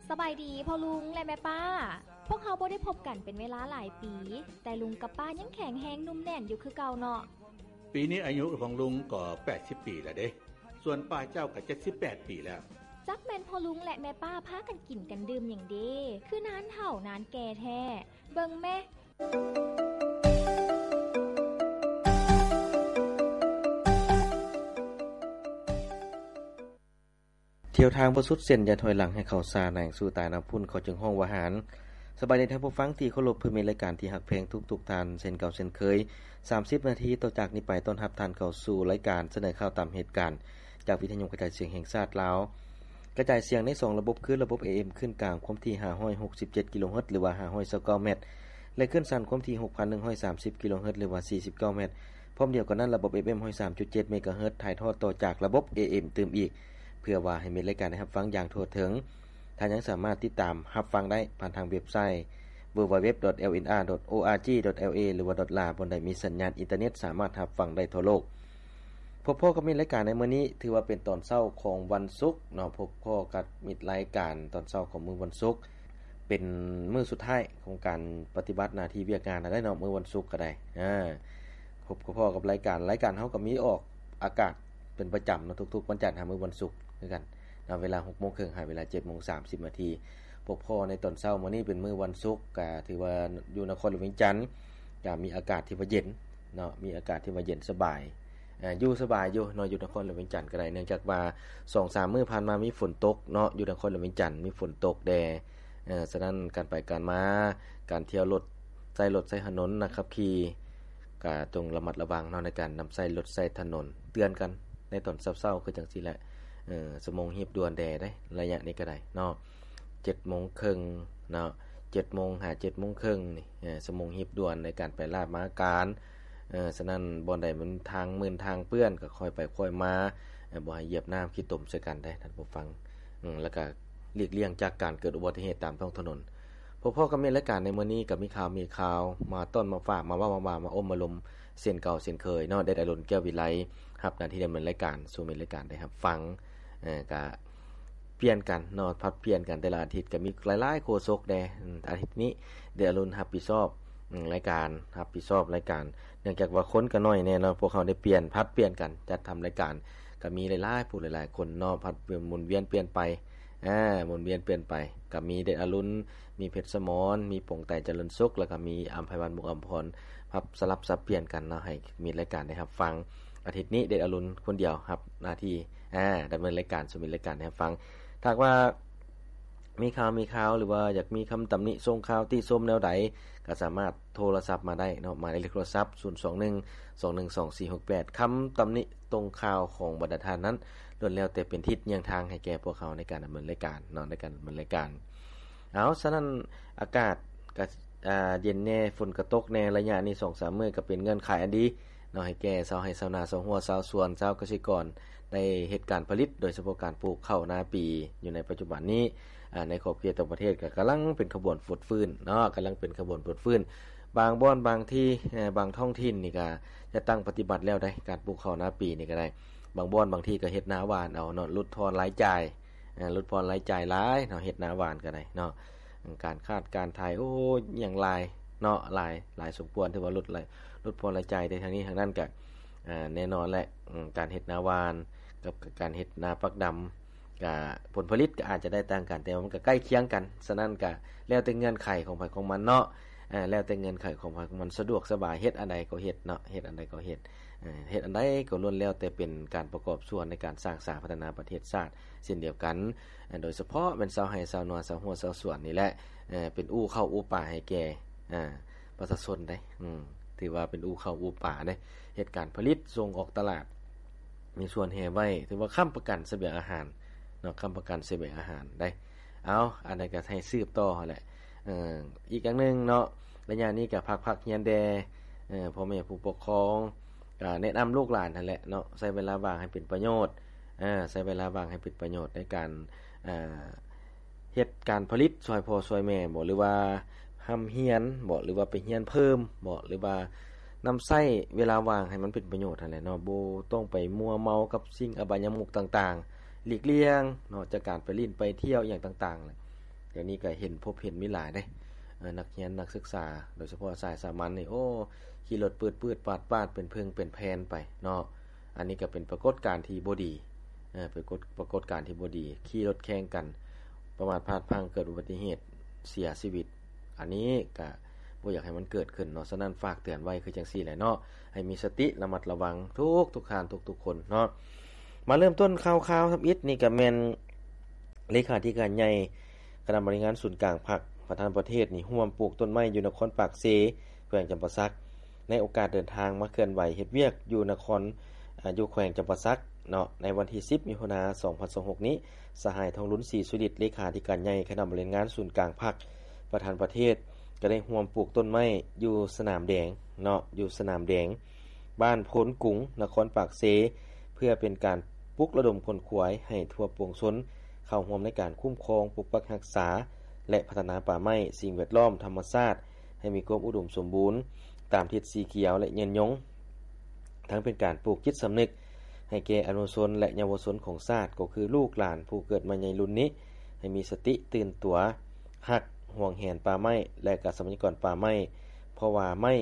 ສະບາຍດີພໍ່ລຸງ ແລະ ແມ່ປ້າ. ພວກເຮົາບໍ່ໄດ້ພົບກັນເປັນເວລາຫຼາຍປີ, ແຕ່ລຸງກັບປ້າຍັງແຂງແຮງໜຸ່ມແໜ້ນຢູ່ຄືເກົ່າເນາະ. ປີນີ້ອາຍຸຂອງລຸງກໍແປດສິບປີແລ້ວເດ້, ສ່ວນປ້າເຈົ້າກໍເຈັດສິບແປດປີແລ້ວ. ຈັກແມ່ນພໍ່ລຸງ ແລະ ແມ່ປ້າພາກັນກິນກັນດື່ມຫຍັງເດ, ຄືນານເຖົ້ານານແກ່ແທ້. ເບິ່ງແມ. ທ່ຽວທາງບໍ່ສຸດເສັ້ນ ຢ່າຖອຍຫຼັງໃຫ້ເຂົ້າຊ້າ ນາງສູ້ຕາຍນຳພຸ້ນ ເຂົາຈຶ່ງຮ້ອງວ່າຫານ. ສະບາຍດີທ່ານຜູ້ຟັງທີ່ເຄົາລົບ ເພື່ອມິດລາຍການທີ່ຮັກແພງທຸກໆທ່ານ ເຊັ່ນເກົ່າເຊັ່ນເຄີຍ. ສາມສິບນາທີຕໍ່ຈາກນີ້ໄປ ຕ້ອນຮັບທ່ານເຂົ້າສູ່ລາຍການສະເໜີຂ່າວຕາມເຫດການ ຈາກວິທະຍຸກະຈາຍສຽງແຫ່ງຊາດລາວ. ກະຈາຍສຽງໃນສອງລະບົບ ຄືລະບົບ ເອເອັມ ຄື້ນກາງຄວາມຖີ່ຫ້າຮ້ອຍຫົກສິບເຈັດກິໂລເຮີດ ຫຼືວ່າຫ້າຮ້ອຍຊາວເກົ້າແມັດ ແລະ ຄື້ນສັ້ນຄວາມຖີ່ຫົກພັນໜຶ່ງຮ້ອຍສາມສິບກິໂລເຮີດ ຫຼືວ່າສີ່ສິບເກົ້າແມັດ. ພ້ອມດຽວກັນນັ້ນ ລະບົບ ເອຟເອັມ ຮ້ອຍສາມຈຸດເຈັດເມກາເຮີດ ຖ່າຍທອດຕໍ່ຈາກລະບົບ ເອເອັມ ຕື່ມອີກ ເພື່ອວ່າໃຫ້ມິດລາຍການໄດ້ຮັບຟັງຢ່າງທົ່ວເຖິງ. ທ່ານຍັງສາມາດຕິດຕາມຮັບຟັງໄດ້ຜ່ານທາງເວັບໄຊ www.lnr.org.la ຫຼືວ່າ .la ບ່ອນໃດມີສັນຍານອິນເຕີເນັດ ສາມາດຮັບຟັງໄດ້ທົ່ວໂລກ. ພົບພໍ້ກັບມິດລາຍການໃນມື້ນີ້ ຖືວ່າເປັນຕອນເຊົ້າຂອງວັນສຸກເນາະ, ພົບພໍ້ກັບມິດລາຍການຕອນເຊົ້າຂອງມື້ວັນສຸກ ເປັນມື້ສຸດທ້າຍຂອງການປະຕິບັດໜ້າທີ່ວຽກງານແລ້ວເນາະ, ມື້ວັນສຸກກໍໄດ້. ອາ ພົບພໍ້ກັບລາຍການ, ລາຍການເຮົາກໍມີອອກອາກາດເປັນປະຈຳເນາະ, ທຸກໆວັນຈັນຫາມື້ວັນສຸກຄືກັນເນາະ, ເວລາຫົກໂມງເຄິ່ງຫາເວລາເຈັດໂມງສາມສິບນາທີ. ພົບພໍ້ໃນຕອນເຊົ້າມື້ນີ້ເປັນມື້ວັນສຸກ, ກໍຖືວ່າຢູ່ນະຄອນຫຼວງວຽງຈັນ ກໍມີອາກາດທີ່ວ່າເຢັນເນາະ, ມີອາກາດທີ່ວ່າເຢັນສະບາຍ, ເອີ ຢູ່ສະບາຍຢູ່ເນາະ, ຢູ່ນະຄອນຫຼວງວຽງຈັນກໍໄດ້, ເນື່ອງຈາກວ່າສອງສາມມື້ຜ່ານມາມີຝົນຕົກເນາະ, ຢູ່ນະຄອນຫຼວງວຽງຈັນມີຝົນຕົກແດ່. ເອີ ສະນັ້ນການໄປການມາ, ການທ່ຽວລົດ, ໃຊ້ລົດໃຊ້ຖະໜົນ, ນັກຂັບຂີ່ ກໍຈົ່ງລະມັດລະວັງເນາະ ໃນການນຳໃຊ້ລົດໃຊ້ຖະໜົນ. ເຕືອນກັນໃນຕອນເຊົ້າໆ ຄືຈັ່ງຊີ້ແຫຼະ, ເອີ ຊົ່ວໂມງຮີບດ່ວນແດ່ເດ້ ໄລຍະນີ້ກໍໄດ້ເນາະ, ເຈັດໂມງເຄິ່ງເນາະ, ເຈັດໂມງຫາເຈັດໂມງເຄິ່ງນີ້ ເອີ ຊົ່ວໂມງຮີບດ່ວນໃນການໄປລາດມາການ. ເອີ ສະນັ້ນ ບ່ອນໃດມັນທາງມື່ນທາງເປື້ອນ ກໍຄ່ອຍໄປຄ່ອຍມາ, ເອີ ບໍ່ໃຫ້ຢຽບນ້ຳຂີ້ຕົມໃສ່ກັນເດ້ທ່ານຜູ້ຟັງ. ອາ ແລ້ວກໍຫຼີກລ່ຽງຈາກການເກີດອຸບັດຕິເຫດຕາມທ້ອງຖະໜົນ. ພົບພໍ້ກັບມິດລາຍການໃນມື້ນີ້ ກໍມີຂ່າວ ມີຂ່າວມາຕ້ອນມາຝາກ ມາເວົ້າມາວ່າ ມາອົບມາລົມເຊັ່ນເກົ່າເຊັ່ນເຄີຍເນາະ. ເດັດອະລຸນ ແກ້ວວິໄລ ຮັບໜ້າທີ່ດຳເນີນລາຍການສູ່ມິດລາຍການໄດ້ຮັບຟັງ. ເອີ ກະປ່ຽນກັນເນາະ, ຜັດປ່ຽນກັນ, ແຕ່ລະອາທິດກໍມີຫຼາຍໆໂຄສົກແດ່. ອາທິດນີ້ ເດດອະລຸນຮັບຜິດຊອບ ອາ ລາຍການ, ຮັບຜິດຊອບລາຍການ, ເນື່ອງຈາກວ່າຄົນກໍໜ້ອຍແດ່ເນາະ, ພວກເຮົາໄດ້ປ່ຽນ, ຜັດປ່ຽນກັນຈັດທຳລາຍການ, ກໍມີຫຼາຍໆຜູ້ຫຼາຍໆຄົນເນາະ, ຜັດໝູນວຽນປ່ຽນໄປ, ອາ ໝູນວຽນປ່ຽນໄປ, ກໍມີເດດອະລຸນ, ມີເພັດສະໝອນ, ມີປົງໄຕ ຈະເລີນສຸກ, ແລ້ວກໍມີອຳໄພວັນ ມຸກອຳພອນ, ພັບສະຫຼັບສັບປ່ຽນກັນເນາະ, ໃຫ້ມິດລາຍການໄດ້ຮັບຟັງ. ອາທິດນີ້ ເດດອະລຸນຄົນດຽວຮັບໜ້າທີ່ ອາ ດຳເນີນລາຍການສູ່ມິດລາຍການໄດ້ຮັບຟັງ. ຖ້າຫາກວ່າມີຂ່າວ ມີຂ່າວ ຫຼືວ່າຢາກມີຄຳຕຳໜິ ສົ່ງຂ່າວ ຕິຊົມແນວໃດ ກໍສາມາດໂທລະສັບມາໄດ້ເນາະ, ໝາຍເລກໂທລະສັບ ສູນສອງໜຶ່ງ ສອງໜຶ່ງສອງ ສີ່ຫົກແປດ. ຄຳຕຳໜິຕົງຂ່າວຂອງບັນດາທ່ານນັ້ນ ລ້ວນແລ້ວແຕ່ເປັນທິດຍ່ຽງທາງໃຫ້ແກ່ພວກເຮົາໃນການດຳເນີນລາຍການເນາະ, ໃນການດຳເນີນລາຍການ. ເອົາ ສະນັ້ນ ອາກາດກໍ ອາ ເຢັນແດ່, ຝົນກໍຕົກແດ່, ໄລຍະນີ້ສອງສາມມື້ກໍເປັນເງື່ອນໄຂອັນດີເນາະ ໃຫ້ແກ່ຊາວໄຮ່ຊາວນາ, ຊາວຮົ້ວຊາວສວນ, ຊາວກະສິກອນ ໄດ້ເຮັດການຜະລິດ, ໂດຍສະເພາະການປູກເຂົ້ານາປີຢູ່ໃນປັດຈຸບັນນີ້. ອາ ໃນຂອບເຂດຕ່າງປະເທດກໍກຳລັງເປັນຂະບວນຟົດຟື້ນເນາະ, ກຳລັງເປັນຂະບວນຟົດຟື້ນ. ບາງບ່ອນບາງທີ່, ເອີ ບາງທ້ອງຖິ່ນນີ້ກໍຈັດຕັ້ງປະຕິບັດແລ້ວໄດ໋, ການປູກເຂົ້ານາປີນີ້ກໍໄດ້. ບາງບ່ອນບາງທີ່ກໍເຮັດນາຫວ່ານເອົາເນາະ, ຫຼຸດຜ່ອນລາຍຈ່າຍ, ເອີ ຫຼຸດຜ່ອນລາຍຈ່າຍຫຼາຍເນາະ, ເຮັດນາຫວ່ານກໍໄດ້ເນາະ. ການຂາດການຂາຍ ໂອ້ ຫຍັງຫຼາຍເນາະ, ຫຼາຍ, ຫຼາຍສົມຄວນ, ຖືວ່າຫຼຸດລາຍ, ຫຼຸດຜ່ອນລາຍຈ່າຍ. ແຕ່ທາງນີ້ທາງນັ້ນກໍ ອາ ແນ່ນອນແຫຼະ, ອາ ການເຮັດນາຫວ່ານກັບການເຮັດນາປັກດຳ ກະຜົນຜະລິດກໍອາດຈະໄດ້ຕ່າງກັນ, ແຕ່ວ່າມັນກໍໃກ້ຄຽງກັນ. ສະນັ້ນກະແລ້ວແຕ່ເງື່ອນໄຂຂອງໃຜຂອງມັນເນາະ, ອາ ແລ້ວແຕ່ເງື່ອນໄຂຂອງໃຜຂອງມັນ, ສະດວກສະບາຍ ເຮັດອັນໃດກໍເຮັດເນາະ, ເຮັດອັນໃດກໍເຮັດ, ເອີ ເຮັດອັນໃດກໍລ້ວນແລ້ວແຕ່ເປັນການປະກອບສ່ວນໃນການສ້າງສາພັດທະນາປະເທດຊາດເຊັ່ນດຽວກັນ. ໂດຍສະເພາະແມ່ນຊາວໄຮ່ຊາວນາ, ຊາວຮົ້ວຊາວສວນນີ້ແຫຼະ, ເປັນອູ່ເຂົ້າອູ່ປາໃຫ້ແກ່ ອາ ປະຊາຊົນໄດ໋, ອືມ ຖືວ່າເປັນອູ່ເຂົ້າອູ່ປາເດ້, ເຮັດການຜະລິດສົ່ງອອກຕະຫຼາດ, ມີສ່ວນແຮ່ໄວ້, ຖືວ່າຄ້ຳປະກັນສະບຽງອາຫານເນາະ, ຄ້ຳປະກັນສະບຽງອາຫານໄດ໋. ເອົາ ອັນນັ້ນກໍໃຫ້ສືບຕໍ່ຫັ້ນແຫຼະ. ເອີ ອີກຢ່າງໜຶ່ງເນາະ, ໄລຍະນີ້ກໍພັກ, ພັກຮຽນແດ່, ເອີ ພໍ່ແມ່ຜູ້ປົກຄອງ ກໍແນະນຳລູກຫຼານຫັ້ນແຫຼະເນາະ, ໃຊ້ເວລາວ່າງໃຫ້ເປັນປະໂຫຍດ, ເອີ ໃຊ້ເວລາວ່າງໃຫ້ເປັນປະໂຫຍດໃນການ ເຮັດການຜະລິດຊ່ອຍພໍ່ຊ່ອຍແມ່ບໍ ຫຼືວ່າຮ່ຳຮຽນບໍ ຫຼືວ່າໄປຮຽນເພີ່ມບໍ ຫຼືວ່ານຳໃຊ້ເວລາວ່າງໃຫ້ມັນເປັນປະໂຫຍດຫັ້ນແຫຼະເນາະ, ບໍ່ຕ້ອງໄປມົວເມົາກັບສິ່ງອະບາຍະມຸກຕ່າງໆ, ຫຼີກລ່ຽງເນາະ ຈາກການໄປຫຼິ້ນໄປທ່ຽວອີ່ຫຍັງຕ່າງໆ. ດຽວນີ້ກໍເຫັນ ພົບເຫັນມີຫຼາຍເດ້ ເອີ ນັກຮຽນນັກສຶກສາ ໂດຍສະເພາະສາຍສາມັນນີ້ ໂອ້ ຂີ່ລົດປືດໆປາດໆ ເປັນເພິ່ງເປັນແຜ່ນໄປເນາະ. ອັນນີ້ກໍເປັນປາກົດການທີ່ບໍ່ດີ ເອີ ເປັນກົດ ປາກົດການທີ່ບໍ່ດີ ຂີ່ລົດແຂ່ງກັນ ປະມາດພາດພລັ້ງ ເກີດອຸບັດຕິເຫດ ເສຍຊີວິດ ອັນນີ້ກະບໍ່ຢາກໃຫ້ມັນເກີດຂຶ້ນເນາະ. ສະນັ້ນ ຝາກເຕືອນໄວ້ຄືຈັ່ງຊີ້ແຫຼະເນາະ ໃຫ້ມີສະຕິລະມັດລະວັງທຸກໆທ່ານ ທຸກໆຄົນເນາະ. ມາເລີ່ມຕົ້ນຂ່າວໆທຳອິດນີ້ ກະແມ່ນເລຂາທິການໃຫຍ່ຄະນະບໍລິຫານງານສູນກາງພັກ ປະທານປະເທດນີ້ ຮ່ວມປູກຕົ້ນໄມ້ຢູ່ນະຄອນປາກເຊ ແຂວງຈຳປາສັກ ໃນໂອກາດເດີນທາງມາເຄື່ອນໄຫວເຮັດວຽກຢູ່ນະຄອນ ອາ ຢູ່ແຂວງຈຳປາສັກເນາະ ໃນວັນທີສິບ ມິຖຸນາ ສອງພັນຊາວຫົກນີ້ ສະຫາຍ ທອງລຸນ ສີສຸລິດ ເລຂາທິການໃຫຍ່ຄະນະບໍລິຫານງານສູນກາງພັກ ປະທານປະເທດ ກໍໄດ້ຮ່ວມປູກຕົ້ນໄມ້ຢູ່ສະໜາມແດງເນາະ ຢູ່ສະໜາມແດງ ບ້ານໂພນກຸງ ນະຄອນປາກເຊ ເພື່ອເປັນການປຸກລະດົມຂົນຂວາຍໃຫ້ທົ່ວປວງຊົນເຂົ້າຮ່ວມໃນການຄຸ້ມຄອງ, ປົກປັກຮັກສາ ແລະ ພັດທະນາປ່າໄມ້, ສິ່ງແວດລ້ອມ, ທຳມະຊາດ ໃຫ້ມີຄວາມອຸດົມສົມບູນຕາມທິດສີຂຽວ ແລະ ຍືນຍົງ. ທັງເປັນການປູກຈິດສຳນຶກໃຫ້ແກ່ອະນຸຊົນ ແລະ ເຍົາວະຊົນຂອງຊາດ ກໍຄືລູກຫຼານຜູ້ເກີດໃໝ່ໃນລຸ້ນນີ້ ໃຫ້ມີສະຕິຕື່ນຕົວ ຮັກ, ຫວງແຫນປ່າໄມ້ ແລະ ກະຊັບພະຍາກອນປ່າໄມ້ ເພາະວ່າໄມ້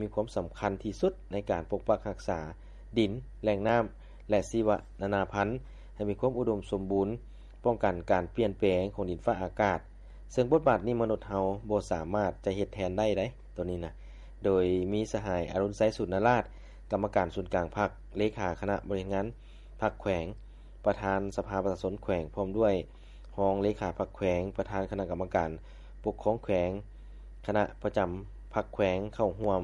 ມີຄວາມສຳຄັນທີ່ສຸດໃນການປົກປັກຮັກສາດິນ, ແຫຼ່ງນ້ຳ ແລະ ຊີວະນານາພັນ ໃຫ້ມີຄວາມອຸດົມສົມບູນ, ປ້ອງກັນການປ່ຽນແປງຂອງດິນຟ້າອາກາດ. ເຊິ່ງບົດບາດນີ້ມະນຸດເຮົາບໍ່ສາມາດຈະເຮັດແທນໄດ້ໃດ໋ ໂຕນີ້ນະ. ໂດຍມີສະຫາຍ ອະລຸນໄຊ ສູນນະລາດ ກຳມະການສູນກາງພັກ, ເລຂາຄະນະບໍລິຫານງານພັກແຂວງ, ປະທານສະພາປະຊາຊົນແຂວງ ພ້ອມດ້ວຍຮອງເລຂາພັກແຂວງ, ປະທານຄະນະກຳມະການປົກຄອງແຂວງ, ຄະນະປະຈຳພັກແຂວງເຂົ້າຮ່ວມ.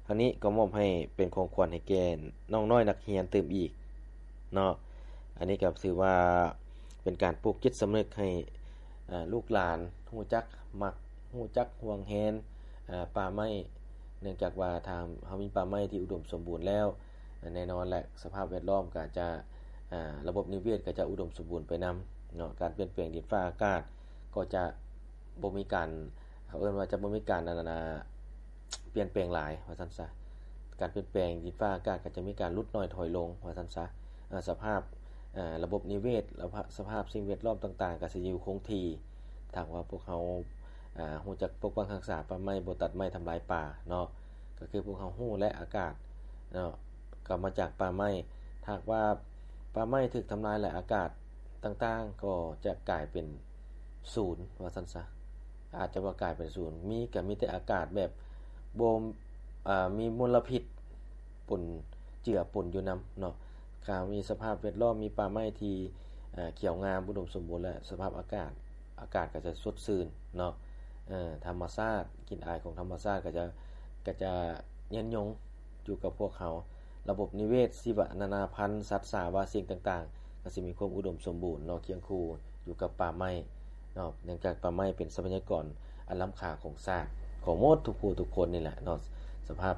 ທັງນີ້ກໍມອບໃຫ້ເປັນຂອງຂວັນໃຫ້ແກ່ນ້ອງນ້ອຍນັກຮຽນຕື່ມອີກເນາະ. ອັນນີ້ກໍຖືວ່າເປັນການປູກຈິດສຳນຶກໃຫ້ ເອີ ລູກຫຼານຮູ້ຈັກມັກ ຮູ້ຈັກຫວງແຫນ ເອີ ປ່າໄມ້ ເນື່ອງຈາກວ່າຖ້າເຮົາມີປ່າໄມ້ທີ່ອຸດົມສົມບູນແລ້ວ ແນ່ນອນແຫຼະ ສະພາບແວດລ້ອມກໍຈະ ອາ ລະບົບນິເວດກໍຈະອຸດົມສົມບູນໄປນຳເນາະ. ການປ່ຽນແປງດິນຟ້າອາກາດກໍຈະບໍ່ມີການ ເຂົາເອີ້ນວ່າຈະບໍ່ມີການ ອັນນັ້ນນະ ປ່ຽນແປງຫຼາຍວ່າຊັ້ນຊະ. ການປ່ຽນແປງດິນຟ້າອາກາດກໍຈະມີການຫຼຸດໜ້ອຍຖອຍລົງວ່າຊັ້ນຊະ. ອາ ສະພາບ ອາ ລະບົບນິເວດ ລະ ສະພາບສິ່ງແວດລ້ອມຕ່າງໆ ກໍຊິຢູ່ຄົງທີ່. ຖ້າຫາກວ່າພວກເຮົາ ອາ ຮູ້ຈັກປົກປັກຮັກສາປ່າໄມ້ ບໍ່ຕັດໄມ້ທຳລາຍປ່າເນາະ ກໍຄືພວກເຮົາຮູ້ແຫຼະ ອາກາດເນາະ ກໍມາຈາກປ່າໄມ້. ຖ້າຫາກວ່າປ່າໄມ້ຖືກທຳລາຍ ແລະ ອາກາດຕ່າງໆ ກໍຈະກາຍເປັນສູນວ່າຊັ້ນຊະ. ອາດຈະວ່າກາຍເປັນສູນ ມີ ກໍມີແຕ່ອາກາດແບບບໍ່ ອາ ມີມົນລະພິດປົນເຈືອປົນຢູ່ນຳເນາະ. ຖ້າມີສະພາບແວດລ້ອມ ມີປ່າໄມ້ທີ່ ເອີ ຂຽວງາມ ອຸດົມສົມບູນ ແລະ ສະພາບອາກາດ ອາກາດກໍຈະສົດຊື່ນເນາະ. ເອີ ທຳມະຊາດ ກິ່ນອາຍຂອງທຳມະຊາດກໍຈະ ກໍຈະຍືນຍົງຢູ່ກັບພວກເຮົາ. ລະບົບນິເວດ ຊີວະນານາພັນ ສັດສາວາສິ່ງຕ່າງໆ ກໍຊິມີຄວາມອຸດົມສົມບູນເນາະ ຄຽງຄູ່ຢູ່ກັບປ່າໄມ້ເນາະ. ເນື່ອງຈາກປ່າໄມ້ເປັນຊັບພະຍາກອນອັນລ້ຳຄ່າຂອງຊາດ ຂອງໝົດທຸກຜູ້ທຸກຄົນນີ້ແຫຼະເນາະ. ສະພາບ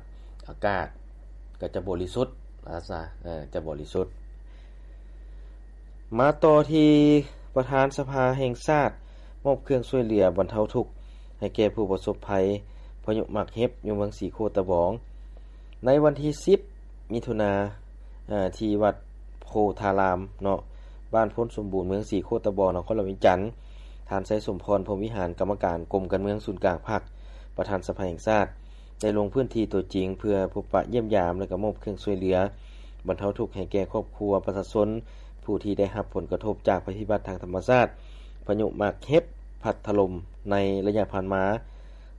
ອາກາດກໍຈະບໍລິສຸດ ອາ ຈະບໍລິສຸດ. ມາຕໍ່ທີ່ປະທານສະພາແຫ່ງຊາດ ມອບເຄື່ອງຊ່ວຍເຫຼືອບັນເທົາທຸກໃຫ້ແກ່ຜູ້ປະສົບໄພພາຍຸໝາກເຫັບ ຢູ່ເມືອງສີໂຄດຕະບອງ. ໃນວັນທີສິບ ມິຖຸນາ ເອີ ທີ່ວັດໂພທາລາມເນາະ ບ້ານໂພນສົມບູນ ເມືອງສີໂຄດຕະບອງ ນະຄອນຫຼວງວຽງຈັນ, ທ່ານ ໄຊສົມພອນ ພົມວິຫານ ກຳມະການກົມການເມືອງສູນກາງພັກ ປະທານສະພາແຫ່ງຊາດ ໄດ້ລົງພື້ນທີ່ຕົວຈິງ ເພື່ອພົບປະຢ້ຽມຢາມ ແລະ ກໍມອບເຄື່ອງຊ່ວຍເຫຼືອບັນເທົາທຸກໃຫ້ແກ່ຄອບຄົວປະຊາຊົນ ຜູ້ທີ່ໄດ້ຮັບຜົນກະທົບຈາກໄພພິບັດທາງທຳມະຊາດ ພາຍຸໝາກເຫັບພັດຖະຫຼົ່ມໃນໄລຍະຜ່ານມາ.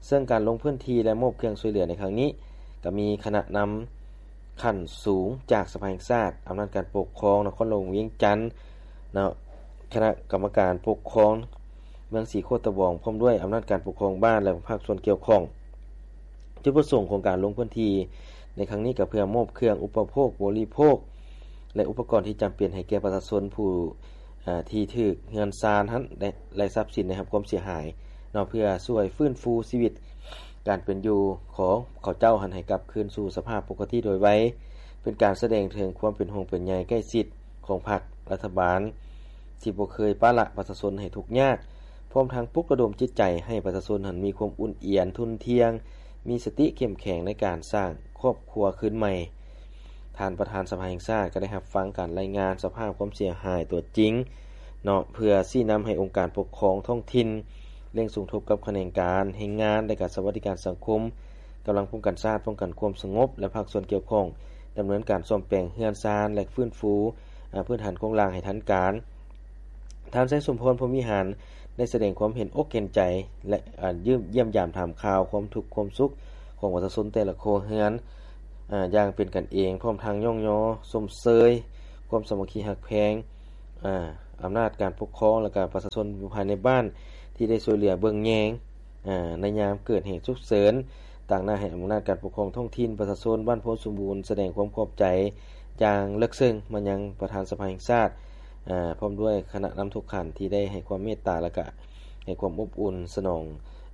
ເຊິ່ງການລົງພື້ນທີ່ ແລະ ມອບເຄື່ອງຊ່ວຍເຫຼືອໃນຄັ້ງນີ້ ກໍມີຄະນະນຳຂັ້ນສູງຈາກສະພາແຫ່ງຊາດ, ອຳນາດການປົກຄອງນະຄອນຫຼວງວຽງຈັນເນາະ, ຄະນະກຳມະການປົກຄອງເມືອງສີໂຄດຕະບອງ ພ້ອມດ້ວຍອຳນາດການປົກຄອງບ້ານ ແລະ ພາກສ່ວນກ່ຽວຂ້ອງ. ຈຸດປະສົງຂອງການລົງພື້ນທີ່ໃນຄັ້ງນີ້ ກໍເພື່ອມອບເຄື່ອງອຸປະໂພກບໍລິໂພກ ແລະ ອຸປະກອນທີ່ຈຳເປັນໃຫ້ແກ່ປະຊາຊົນຜູ້ ອາ ທີ່ຖືກເຮືອນຊານຫັ້ນ ແລະ ແລະ ຊັບສິນໄດ້ຮັບຄວາມເສຍຫາຍເນາະ, ເພື່ອຊ່ວຍຟື້ນຟູຊີວິດການເປັນຢູ່ຂອງເຂົາເຈົ້າຫັ້ນໃຫ້ກັບຄືນສູ່ສະພາບປົກກະຕິໂດຍໄວ, ເປັນການສະແດງເຖິງຄວາມເປັນຫ່ວງເປັນໃຍໃກ້ຊິດຂອງພັກລັດຖະບານ ທີ່ບໍ່ເຄີຍປະລະປະຊາຊົນໃຫ້ທຸກຍາກ, ພ້ອມທັງປຸກລະດົມຈິດໃຈໃຫ້ປະຊາຊົນຫັ້ນມີຄວາມອຸ່ນອຽນ, ທຸ່ນທ່ຽງ, ມີສະຕິເຂັ້ມແຂງໃນການສ້າງຄອບຄົວຄືນໃໝ່. ທ່ານປະທານສະພາແຫ່ງຊາດກໍໄດ້ຮັບຟັງການລາຍງານສະພາບຄວາມເສຍຫາຍຕົວຈິງເນາະ, ເພື່ອຊີ້ນຳໃຫ້ອົງການປົກຄອງທ້ອງຖິ່ນ ເລັ່ງສົມທົບກັບຂະແໜງການແຮງງານ ແລະ ກະສະຫວັດດີການສັງຄົມ, ກຳລັງປ້ອງກັນຊາດ, ປ້ອງກັນຄວາມສະຫງົບ ແລະ ພາກສ່ວນກ່ຽວຂ້ອງ ດຳເນີນການສ້ອມແປງເຮືອນຊານ ແລະ ຟື້ນຟູ ອາ ພື້ນຖານໂຄງລ່າງໃຫ້ທັນການ. ທ່ານ ໄຊສົມພອນ ພົມວິຫານ ໄດ້ສະແດງຄວາມເຫັນອົກເຫັນໃຈ ແລະ ອາ ຢ້ຽມຢາມຖາມຂ່າວຄວາມທຸກຄວາມສຸກຂອງປະຊາຊົນແຕ່ລະຄົວເຮືອນ ອາ ຢ່າງເປັນກັນເອງ, ພ້ອມທັງຍ້ອງຍໍຊົມເຊີຍຄວາມສາມັກຄີຮັກແພງ ອາ ອຳນາດການປົກຄອງ ແລະ ກະປະຊາຊົນຢູ່ພາຍໃນບ້ານ ທີ່ໄດ້ຊ່ວຍເຫຼືອເບິ່ງແຍງ ອາ ໃນຍາມເກີດເຫດສຸກເສີນ. ຕາງໜ້າໃຫ້ອຳນາດການປົກຄອງທ້ອງຖິ່ນ, ປະຊາຊົນບ້ານໂພນສົມບູນ ສະແດງຄວາມຂອບໃຈຢ່າງເລິກເຊິ່ງມາຍັງປະທານສະພາແຫ່ງຊາດ ອາ ພ້ອມດ້ວຍຄະນະນຳທຸກຂັ້ນທີ່ໄດ້ໃຫ້ຄວາມເມດຕາ ແລະ ກະໃຫ້ຄວາມອົບອຸ່ນສະໜອງ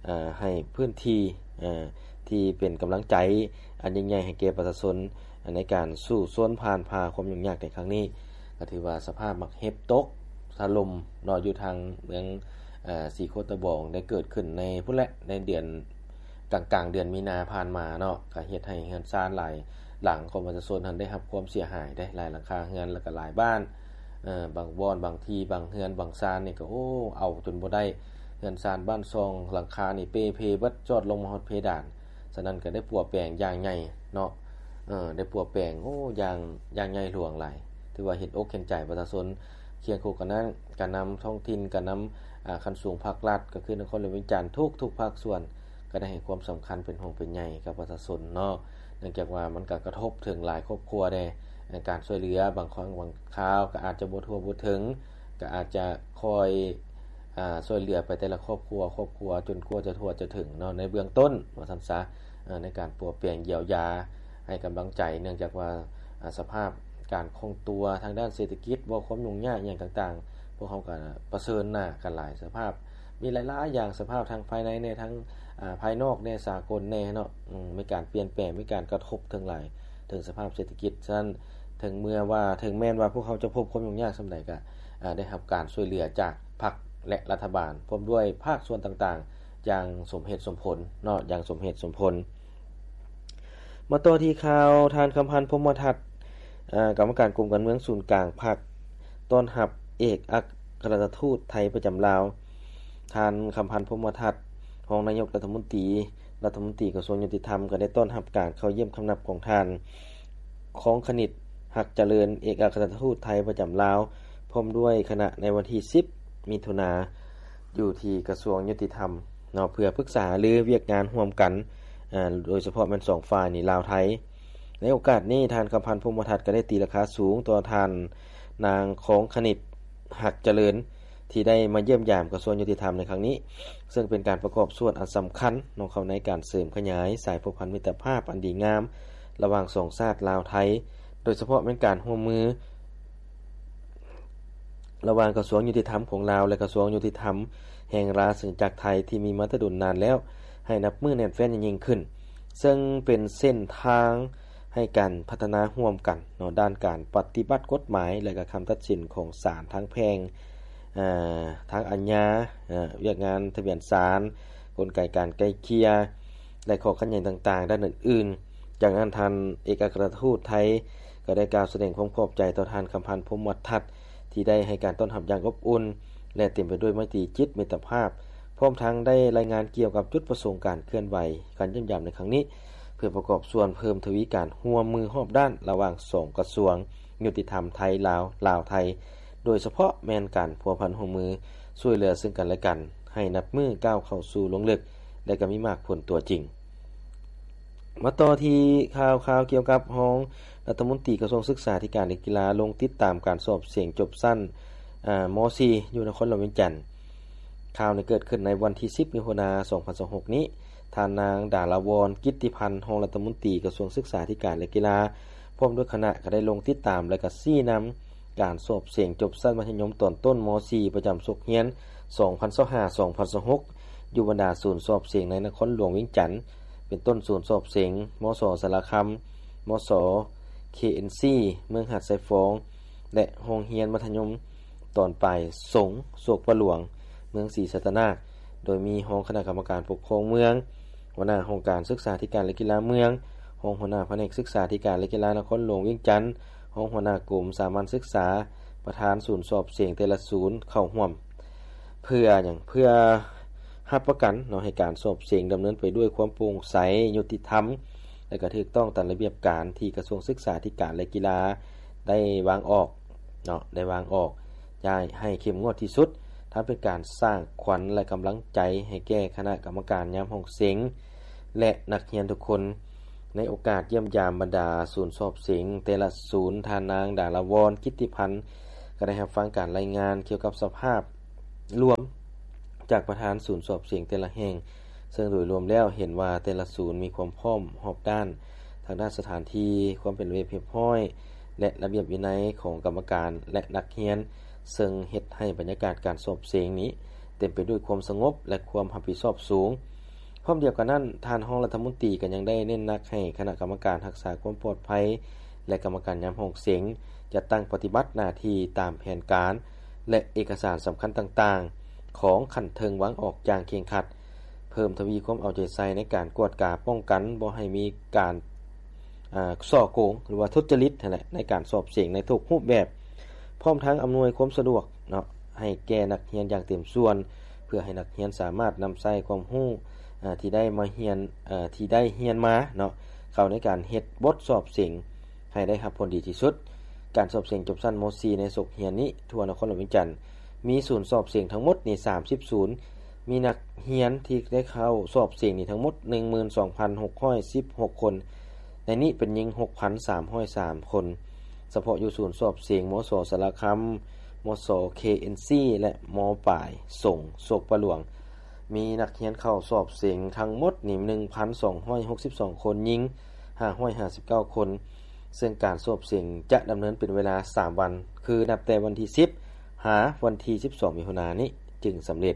ອາ ໃຫ້ພື້ນທີ່ ອາ ທີ່ເປັນກຳລັງໃຈອັນຍິ່ງໃຫຍ່ໃຫ້ແກ່ປະຊາຊົນ ໃນການສູ້ຊົນຜ່ານຜ່າຄວາມຫຍຸ້ງຍາກໃນຄັ້ງນີ້. ກໍຖືວ່າສະພາບໝາກເຫັບຕົກຖະຫຼົ່ມເນາະ ຢູ່ທາງເມືອງ ເອີ ສີໂຄດຕະບອງ ໄດ້ເກີດຂຶ້ນໃນພຸ້ນແຫຼະ ໃນເດືອນ ກາງໆເດືອນມີນາຜ່ານມາເນາະ, ກໍເຮັດໃຫ້ເຮືອນຊານຫຼາຍຫຼັງຂອງປະຊາຊົນຫັ້ນໄດ້ຮັບຄວາມເສຍຫາຍເດ້ ຫຼາຍຫຼັງຄາເຮືອນ ແລ້ວກໍຫຼາຍບ້ານ ເອີ ບາງບ່ອນ ບາງທີ່ ບາງເຮືອນ ບາງຊານນີ້ກໍ ໂອ້ ເອົາຈົນບໍ່ໄດ້, ເຮືອນຊານບ້ານຊ່ອງຫຼັງຄານີ້ເປ່ເພເບິດ ຈອດລົງມາຮອດເພດານ. ສະນັ້ນກໍໄດ້ປົວແປງຢ່າງໃຫຍ່ເນາະ ເອີ ໄດ້ປົວແປງ ໂອ້ ຢ່າງ ຢ່າງໃຫຍ່ຫຼວງຫຼາຍ. ຖືວ່າເຫັນອົກເຫັນໃຈປະຊາຊົນ. ຄຽງຄູ່ກັນນັ້ນ ການນຳທ້ອງຖິ່ນ ການນຳ ອາ ຂັ້ນສູງພາກລັດ ກໍຄືນະຄອນຫຼວງວຽງຈັນ ທຸກໆພາກສ່ວນ ກໍໄດ້ໃຫ້ຄວາມສຳຄັນ ເປັນຫ່ວງເປັນໃຍກັບປະຊາຊົນເນາະ, ເນື່ອງຈາກວ່າມັນກໍກະທົບເຖິງຫຼາຍຄອບຄົວແດ່. ການຊ່ວຍເຫຼືອບາງຄັ້ງບາງຄາວກໍອາດຈະບໍ່ທົ່ວບໍ່ເຖິງ, ກໍອາດຈະຄ່ອຍ ອາ ຊ່ວຍເຫຼືອໄປແຕ່ລະຄອບຄົວ ຄອບຄົວ ຈົນກວ່າຈະທົ່ວຈະເຖິງເນາະ ໃນເບື້ອງຕົ້ນວ່າຊັ້ນຊະ ເອີ ໃນການປົວແປງຢຽວຢາ ໃຫ້ກຳລັງໃຈ ເນື່ອງຈາກວ່າ ອາ ສະພາບການຄົງຕົວທາງດ້ານເສດຖະກິດ ບໍ່ ຄວາມຫຍຸ້ງຍາກຫຍັງຕ່າງໆ ພວກເຮົາກໍປະເຊີນໜ້າກັນຫຼາຍສະພາບ ມີຫຼາຍໆຢ່າງ ສະພາບທາງພາຍໃນແດ່ ທາງ ອາ ພາຍນອກແດ່ ສາກົນແດ່ເນາະ ອືມ ມີການປ່ຽນແປງ ມີການກະທົບເຖິງຫຼາຍ ເຖິງສະພາບເສດຖະກິດ. ສະນັ້ນ ເຖິງເມື່ອວ່າ ເຖິງແມ່ນວ່າພວກເຮົາຈະພົບຄວາມຫຍຸ້ງຍາກສ່ຳໃດ ກະ ອາ ໄດ້ຮັບການຊ່ວຍເຫຼືອຈາກພັກ ແລະ ລັດຖະບານ ພ້ອມດ້ວຍພາກສ່ວນຕ່າງໆ ຢ່າງສົມເຫດສົມຜົນເນາະ ຢ່າງສົມເຫດສົມຜົນ. ມາຕໍ່ທີ່ຂ່າວ ທ່ານ ຄຳພັນ ພົມມະທັດ ອາ ກຳມະການກົມການເມືອງສູນກາງພັກ ຕ້ອນຮັບເອກອັກຄະລັດຖະທູດໄທປະຈຳລາວ. ທ່ານ ຄຳພັນ ພົມມະທັດ ຮອງນາຍົກລັດຖະມົນຕີ ລັດຖະມົນຕີກະຊວງຍຸຕິທຳ ກໍໄດ້ຕ້ອນຮັບການເຂົ້າຢ້ຽມຄຳນັບຂອງທ່ານ ຄອງຄະນິດ ຮັກຈະເລີນ ເອກອັກຄະລັດຖະທູດໄທປະຈຳລາວ ພ້ອມດ້ວຍຄະນະ ໃນວັນທີສິບ ມິຖຸນາ ຢູ່ທີ່ກະຊວງຍຸຕິທຳເນາະ ເພື່ອປຶກສາຫາລືວຽກງານຮ່ວມກັນ ອາ ໂດຍສະເພາະແມ່ນສອງຝ່າຍນີ້ ລາວ-ໄທ. ໃນໂອກາດນີ້ ທ່ານ ຄຳພັນ ພົມມະທັດ ກໍໄດ້ຕີລາຄາສູງຕໍ່ທ່ານນາງ ຄອງຄະນິດ ຮັກຈະເລີນ ທີ່ໄດ້ມາຢ້ຽມຢາມກະຊວງຍຸຕິທຳໃນຄັ້ງນີ້, ເຊິ່ງເປັນການປະກອບສ່ວນອັນສຳຄັນເນາະ ເຂົ້າໃນການເສີມຂະຫຍາຍສາຍພົວພັນມິດຕະພາບອັນດີງາມ ລະຫວ່າງສອງຊາດລາວ-ໄທ, ໂດຍສະເພາະແມ່ນການຮ່ວມມື ລະຫວ່າງກະຊວງຍຸຕິທຳຂອງລາວ ແລະ ກະຊວງຍຸຕິທຳແຫ່ງລາຊະອານາຈັກໄທ ທີ່ມີມາແຕ່ດົນນານແລ້ວ ໃຫ້ນັບມື້ແໜ້ນແຟ້ນຍິ່ງຂຶ້ນ, ເຊິ່ງເປັນເສັ້ນທາງໃຫ້ການພັດທະນາຮ່ວມກັນເນາະ ດ້ານການປະຕິບັດກົດໝາຍ ແລະ ກະຄຳຕັດສິນຂອງສານທາງແພ່ງ, ເອີ ທາງອາຍາ, ເອີ ວຽກງານທະບຽນສານ, ກົນໄກການໄກ່ເກ່ຍ ແລະ ຂໍ້ຂັດແຍ່ງຕ່າງໆດ້ານອື່ນໆ. ຈາກນັ້ນ ທ່ານເອກອັກຄະລັດຖະທູດໄທ ກໍໄດ້ກ່າວສະແດງຄວາມຂອບໃຈຕໍ່ທ່ານ ຄຳພັນ ພົມມະທັດ ທີ່ໄດ້ໃຫ້ການຕ້ອນຮັບຢ່າງອົບອຸ່ນ ແລະ ເຕັມໄປດ້ວຍໄມຕີຈິດມິດຕະພາບ, ພ້ອມທັງໄດ້ລາຍງານກ່ຽວກັບຈຸດປະສົງການເຄື່ອນໄຫວ ການຢ້ຽມຢາມໃນຄັ້ງນີ້ ເພື່ອປະກອບສ່ວນເພີ່ມທະວີການຮ່ວມມືຮອບດ້ານລະຫວ່າງສອງກະຊວງຍຸຕິທຳໄທ-ລາວ, ລາວ-ໄທ, ໂດຍສະເພາະແມ່ນການພົວພັນຮ່ວມມືຊ່ວຍເຫຼືອເຊິ່ງກັນແລະກັນ ໃຫ້ນັບມື້ກ້າວເຂົ້າສູ່ລວງເລິກ ແລະ ກໍມີໝາກຜົນຕົວຈິງ. ມາຕໍ່ທີ່ຂ່າວຄາວກ່ຽວກັບຮອງລັດຖະມົນຕີກະຊວງສຶກສາທິການ ແລະ ກິລາ ລົງຕິດຕາມການສອບເສັງຈົບຊັ້ນ ອາ ມໍສີ່ ຢູ່ນະຄອນຫຼວງວຽງຈັນ. ຂ່າວນີ້ເກີດຂຶ້ນໃນວັນທີສິບ ມິຖຸນາ ສອງພັນຊາວຫົກນີ້. ທ່ານນາງ ດາລາວອນ ກິດຕິພັນ ຮອງລັດຖະມົນຕີກະຊວງສຶກສາທິການ ແລະ ກິລາ ພ້ອມດ້ວຍຄະນະ ກໍໄດ້ລົງຕິດຕາມ ແລະ ກໍຊີ້ນຳ ການສອບເສັງຈົບຊັ້ນມັດທະຍົມຕອນຕົ້ນ ມໍສີ່ ປະຈຳສົກຮຽນ ສອງພັນຊາວຫ້າ ສອງພັນຊາວຫົກ ຢູ່ບັນດາສູນສອບເສັງໃນນະຄອນຫຼວງວຽງຈັນ ເປັນຕົ້ນສູນສອບເສັງ ມສ ສາລາຄຳ, ມສ ເຄເອັນຊີ ເມືອງຫາດຊາຍຟອງ ແລະ ໂຮງຮຽນມັດທະຍົມຕອນປາຍສົງ ໂສກປະຫຼວງ ເມືອງສີສັດຕະນາກ ໂດຍມີຮອງຄະນະກຳມະການປົກຄອງເມືອງ, ຫົວໜ້າຫ້ອງການສຶກສາທິການ ແລະ ກິລາເມືອງ, ຮອງຫົວໜ້າພະແນກສຶກສາທິການ ແລະ ກິລານະຄອນຫຼວງວຽງຈັນ, ຮອງຫົວໜ້າກົມສາມັນສຶກສາ, ປະທານສູນສອບເສັງແຕ່ລະສູນເຂົ້າຮ່ວມ. ເພື່ອຫຍັງ? ເພື່ອ ຮັບປະກັນເນາະ ໃຫ້ການສອບເສັງດຳເນີນໄປດ້ວຍຄວາມໂປ່ງໃສ, ຍຸຕິທຳ ແລະ ກໍຖືກຕ້ອງຕາມລະບຽບການທີ່ກະຊວງສຶກສາທິການ ແລະ ກິລາໄດ້ວາງອອກເນາະ, ໄດ້ວາງອອກຢ່າງໃຫ້ເຂັ້ມງວດທີ່ສຸດ, ທັງເປັນການສ້າງຂວັນ ແລະ ກຳລັງໃຈໃຫ້ແກ່ຄະນະກຳມະການຍາມຫ້ອງເສັງ ແລະ ນັກຮຽນທຸກຄົນ. ໃນໂອກາດຢ້ຽມຢາມບັນດາສູນສອບເສັງແຕ່ລະສູນ, ທ່ານນາງ ດາລາວອນ ກິດຕິພັນ ກໍໄດ້ຮັບຟັງການລາຍງານກ່ຽວກັບສະພາບລວມຈາກປະທານສູນສອບເສັງແຕ່ລະແຫ່ງ, ເຊິ່ງໂດຍລວມແລ້ວເຫັນວ່າແຕ່ລະສູນມີຄວາມພ້ອມຮອບດ້ານ ທາງດ້ານສະຖານທີ່, ຄວາມເປັນລະບຽບຮຽບຮ້ອຍ ແລະ ລະບຽບວິໄນຂອງກຳມະການ ແລະ ນັກຮຽນ, ເຊິ່ງເຮັດໃຫ້ບັນຍາກາດການສອບເສັງນີ້ເຕັມໄປດ້ວຍຄວາມສະຫງົບ ແລະ ຄວາມຮັບຜິດຊອບສູງ. ພ້ອມດຽວກັນນັ້ນ, ທ່ານຮອງລັດຖະມົນຕີກໍຍັງໄດ້ເນັ້ນໜັກໃຫ້ຄະນະກຳມະການຮັກສາຄວາມປອດໄພ ແລະ ກຳມະການຍາມຫ້ອງເສັງ ຈັດຕັ້ງປະຕິບັດໜ້າທີ່ຕາມແຜນການ ແລະ ເອກະສານສຳຄັນຕ່າງໆ ຂອງຂັ້ນເທິງວາງອອກຢ່າງເຄັ່ງຄັດ, ເພີ່ມທະວີຄວາມເອົາໃຈໃສ່ໃນການກວດກາປ້ອງກັນບໍ່ໃຫ້ມີການ ອ່າ ສໍ້ໂກງ ຫຼືວ່າທຸດຈະລິດຫັ້ນແຫຼະ ໃນການສອບເສັງໃນທຸກຮູບແບບ, ພ້ອມທັງອຳນວຍຄວາມສະດວກເນາະ ໃຫ້ແກ່ນັກຮຽນຢ່າງເຕັມສ່ວນ, ເພື່ອໃຫ້ນັກຮຽນສາມາດນຳໃຊ້ຄວາມຮູ້ ອ່າ ທີ່ໄດ້ມາຮຽນ ເອີ ທີ່ໄດ້ຮຽນມາເນາະ ເຂົ້າໃນການເຮັດບົດສອບເສັງໃຫ້ໄດ້ຮັບຜົນດີທີ່ສຸດ. ການສອບເສັງຈົບຊັ້ນ ມໍສີ່ ໃນສົກຮຽນນີ້ ທົ່ວນະຄອນຫຼວງວຽງຈັນ ມີສູນສອບເສັງທັງໝົດນີ້ ສາມສິບສູນ, ມີນັກຮຽນທີ່ໄດ້ເຂົ້າສອບເສັງນີ້ທັງໝົດ ໜຶ່ງໝື່ນສອງພັນຫົກຮ້ອຍສິບຫົກຄົນ, ໃນນີ້ເປັນຍິງ ຫົກພັນສາມຮ້ອຍສາມຄົນ. ສະເພາະຢູ່ສູນສອບເສັງ ມສ ສາລະຄຳ, ມສ ເຄເອັນຊີ ແລະ ມປາຍສົງ ໂຊກປະຫຼວງ ມີນັກຮຽນເຂົ້າສອບເສັງທັງໝົດນີ້ ໜຶ່ງພັນສອງຮ້ອຍຫົກສິບສອງຄົນ, ຍິງ ຫ້າຮ້ອຍຫ້າສິບເກົ້າຄົນ, ເຊິ່ງການສອບເສັງຈະດຳເນີນເປັນເວລາສາມວັນ ຄືນັບແຕ່ວັນທີສິບ ຫາວັນທີສິບສອງ ມິຖຸນານີ້ຈຶ່ງສຳເລັດ.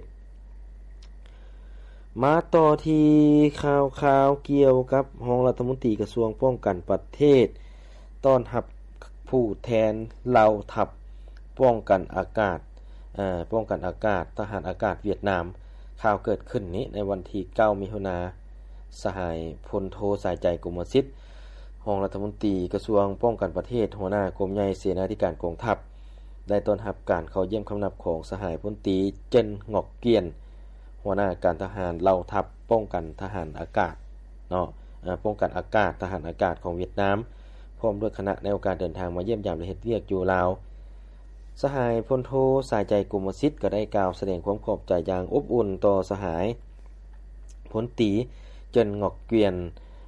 ມາຕໍ່ທີ່ຂ່າວຄາວກ່ຽວກັບຮອງລັດຖະມົນຕີກະຊວງປ້ອງກັນປະເທດ ຕ້ອນຮັບຜູ້ແທນເຫຼົ່າທັບປ້ອງກັນອາກາດ ເອີ ປ້ອງກັນອາກາດ ທະຫານອາກາດຫວຽດນາມ. ຂ່າວເກີດຂຶ້ນນີ້ໃນວັນທີເກົ້າ ມິຖຸນາ, ສະຫາຍ ພົນໂທ ສາຍໃຈ ກົມມະສິດ ຮອງລັດຖະມົນຕີກະຊວງປ້ອງກັນປະເທດ, ຫົວໜ້າກົມໃຫຍ່ເສນາທິການກອງທັບ ໄດ້ຕ້ອນຮັບການເຂົ້າຢ້ຽມຄຳນັບຂອງສະຫາຍ ພົນຕີ ເຈິນ ງອກກຽນ ຫົວໜ້າການທະຫານເຫຼົ່າທັບປ້ອງກັນທະຫານອາກາດເນາະ ເອີ ປ້ອງກັນອາກາດ ທະຫານອາກາດຂອງຫວຽດນາມ ພ້ອມດ້ວຍຄະນະ ໃນໂອກາດເດີນທາງມາຢ້ຽມຢາມ ແລະ ເຮັດວຽກຢູ່ລາວ. ສະຫາຍ ພົນໂທ ສາຍໃຈ ກົມມະສິດ ກໍໄດ້ກ່າວສະແດງຄວາມຂອບໃຈຢ່າງອົບອຸ່ນຕໍ່ສະຫາຍ ພົນຕີ ເຈິນ ງອກກຽນ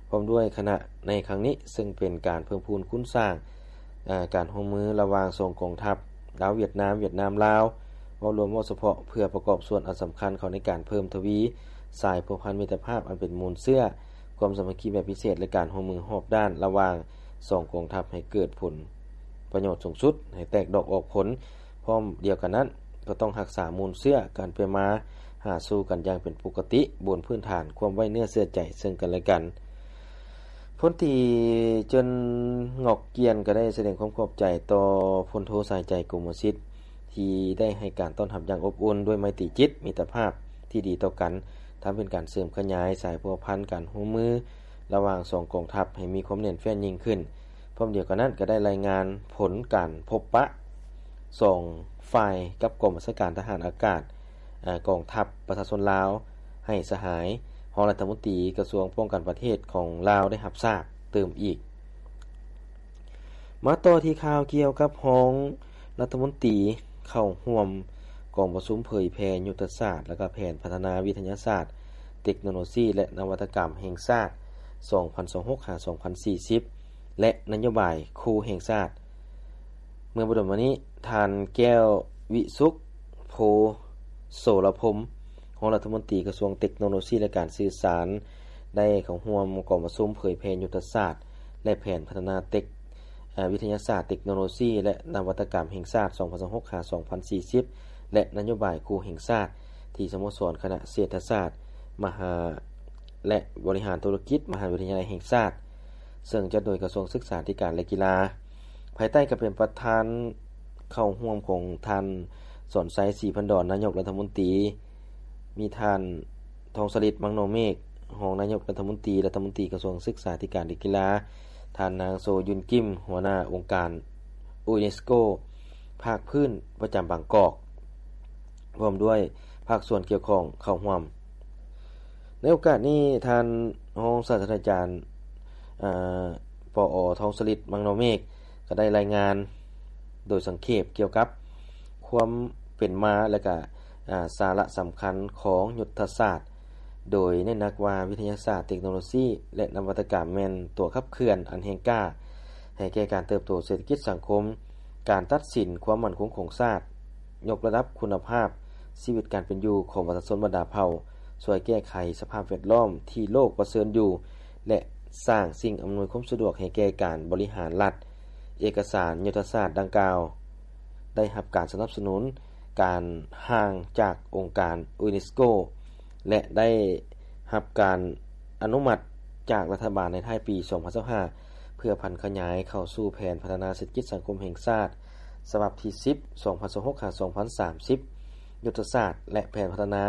ພ້ອມດ້ວຍຄະນະໃນຄັ້ງນີ້, ເຊິ່ງເປັນການເພີ່ມພູນຄູນສ້າງ ເອີ ການຮ່ວມມືລະຫວ່າງສອງກອງທັບ ລາວ-ຫວຽດນາມ, ຫວຽດນາມ-ລາວ ເວົ້າລວມເວົ້າສະເພາະ ເພື່ອປະກອບສ່ວນອັນສຳຄັນເຂົ້າໃນການເພີ່ມທະວີສາຍພົວພັນມິດຕະພາບອັນເປັນມູນເຊື້ອຄວາມສາມັກຄີແບບພິເສດ ແລະ ການຮ່ວມມືຮອບດ້ານລະຫວ່າງສອງກອງທັບໃຫ້ເກີດຜົນປະໂຫຍດສູງສຸດ, ໃຫ້ແຕກດອກອອກຜົນ. ພ້ອມດຽວກັນນັ້ນ ກໍຕ້ອງຮັກສາມູນເຊື້ອການໄປມາຫາສູ່ກັນຢ່າງເປັນປົກກະຕິ ບົນພື້ນຖານຄວາມໄວ້ເນື້ອເຊື່ອໃຈເຊິ່ງກັນແລະກັນ. ພົນຕີ ເຈິນ ງອກກຽນ ກໍໄດ້ສະແດງຄວາມຂອບໃຈຕໍ່ ພົນໂທ ສາຍໃຈ ກົມມະສິດ ທີ່ໄດ້ໃຫ້ການຕ້ອນຮັບຢ່າງອົບອຸ່ນ ດ້ວຍໄມຕີຈິດມິດຕະພາບທີ່ດີຕໍ່ກັນ, ທັງເປັນການເສີມຂະຫຍາຍສາຍພົວພັນການຮ່ວມມືລະຫວ່າງສອງກອງທັບໃຫ້ມີຄວາມແໜ້ນແຟ້ນຍິ່ງຂຶ້ນ. ພ້ອມດຽວກັນນັ້ນ ກໍໄດ້ລາຍງານຜົນການພົບປະສອງຝ່າຍກັບກອງບັນຊາການທະຫານອາກາດ ເອີ ກອງທັບປະຊາຊົນລາວ ໃຫ້ສະຫາຍຮອງລັດຖະມົນຕີກະຊວງປ້ອງກັນປະເທດຂອງລາວໄດ້ຮັບຊາບຕື່ມອີກ. ມາຕໍ່ທີ່ຂ່າວກ່ຽວກັບຮອງລັດຖະມົນຕີເຂົ້າຮ່ວມກອງປະຊຸມເຜີຍແຜ່ຍຸດທະສາດ ແລະ ກະແຜນພັດທະນາວິທະຍາສາດ, ເຕັກໂນໂລຊີ ແລະ ນະວັດຕະກຳແຫ່ງຊາດ ສອງພັນຊາວຫົກ ຫາ ສອງພັນສີ່ສິບ ແລະ ນະໂຍບາຍຄູ່ແຫ່ງຊາດ. ເມື່ອບໍ່ດົນມານີ້, ທ່ານ ແກ້ວວິສຸກ ໂພໂສລະພົມ ຮອງລັດຖະມົນຕີກະຊວງເຕັກໂນໂລຊີ ແລະ ການສື່ສານ ໄດ້ເຂົ້າຮ່ວມກອງປະຊຸມເຜີຍແຜ່ຍຸດທະສາດ ແລະ ແຜນພັດທະນາເຕັກ ເອີ ວິທະຍາສາດ, ເຕັກໂນໂລຊີ ແລະ ນະວັດຕະກຳແຫ່ງຊາດ ສອງພັນຊາວຫົກ ຫາ ສອງພັນສີ່ສິບ ແລະ ນະໂຍບາຍຄູ່ແຫ່ງຊາດ ທີ່ສະໂມສອນຄະນະເສດຖະສາດ ມະຫາ ແລະ ບໍລິຫານທຸລະກິດ ມະຫາວິທະຍາໄລແຫ່ງຊາດ ເຊິ່ງຈັດໂດຍກະຊວງສຶກສາທິການ ແລະ ກິລາ ພາຍໃຕ້ການເປັນປະທານເຂົ້າຮ່ວມຂອງທ່ານ ສອນໄຊ ສີພັນດອນ ນາຍົກລັດຖະມົນຕີ, ມີທ່ານ ທອງສະລິດ ມັງໂນເມກ ຮອງນາຍົກລັດຖະມົນຕີ, ລັດຖະມົນຕີກະຊວງສຶກສາທິການ ແລະ ກິລາ, ທ່ານນາງ ໂຊ ຍຸນກິມ ຫົວໜ້າອົງການ ຢູເນສໂກ ພາກພື້ນປະຈຳບາງກອກ ພ້ອມດ້ວຍພາກສ່ວນກ່ຽວຂ້ອງເຂົ້າຮ່ວມ. ໃນໂອກາດນີ້ ທ່ານຮອງສາດສະດາຈານ ອາ ປອ ທອງສະລິດ ມັງນອເມກ ກໍໄດ້ລາຍງານໂດຍສັງເຂບກ່ຽວກັບຄວາມເປັນມາ ແລະ ກະ ອາ ສາລະສຳຄັນຂອງຍຸດທະສາດ, ໂດຍເນັ້ນໜັກວ່າວິທະຍາສາດ, ເຕັກໂນໂລຊີ ແລະ ນະວັດຕະກຳແມ່ນຕົວຂັບເຄື່ອນອັນແຮງກ້າໃຫ້ແກ່ການເຕີບໂຕເສດຖະກິດສັງຄົມ, ການຕັດສິນຄວາມໝັ້ນຄົງຂອງຊາດ, ຍົກລະດັບຄຸນນະພາບຊີວິດການເປັນຢູ່ຂອງປະຊາຊົນບັນດາເຜົ່າ, ຊ່ວຍແກ້ໄຂສະພາບແວດລ້ອມທີ່ໂລກປະເຊີນຢູ່ ແລະ ສ້າງສິ່ງອຳນວຍຄວາມສະດວກໃຫ້ແກ່ການບໍລິຫານລັດ. ເອກະສານຍຸດທະສາດດັ່ງກ່າວໄດ້ຮັບການສະໜັບສະໜູນການຮ່າງຈາກອົງການຢູເນສໂກ ແລະ ໄດ້ຮັບການອະນຸມັດຈາກລັດຖະບານໃນທ້າຍປີສອງພັນຊາວຫ້າ ເພື່ອຜັນຂະຫຍາຍເຂົ້າສູ່ແຜນພັດທະນາເສດຖະກິດສັງຄົມແຫ່ງຊາດ ສະບັບທີສິບ ສອງພັນຊາວຫົກ ຫາ ສອງພັນສາມສິບ, ຍຸດທະສາດ ແລະ ແຜນພັດທະນາ